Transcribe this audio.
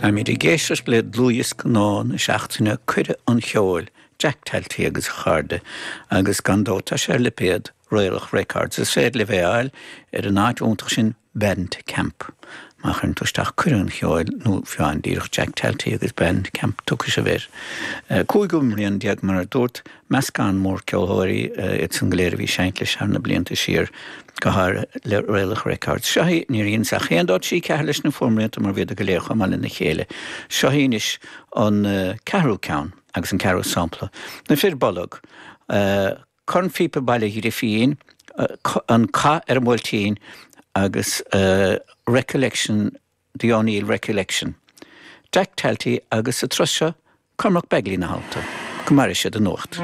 Táimid ag éisteacht le dlúthdhiosca nua na seachtaine, Cuireadh an Cheoil, Jack Talty agus a chairde, agus gan dabht tá sé ar lipéad Raolach Records. Is féidir libh é a fháil ar an áit iontach sin Bandcamp. Má chuireann tú isteach Cuireadh an Cheoil nó fiú amháin díreach Jack Talty agus Bandcamp tiocfaidh sibh air. Cúigiú mbliain mar a dúrt, meascán mór ceolthóirí iad san go léir a bhí ag seinnt leis thar na blianta siar, go háirithe le Raolach Records. Seo í, níor dheineas ach 1, 2, 3, 4 leis na fuaimrianta mar bhíodar go léir chomh maith lena chéile. Seo í anois an ceathrú ceann agus an ceathrú sampla. Na Fir Bolg, Cornphíopa Baile Ghrifín, An Cath ar an mBuailtín agus Recollection The O'Neill Recollection. Jack Talty agus sa turas seo, Cormac Begley ina theannta. Go maire siad an nuacht.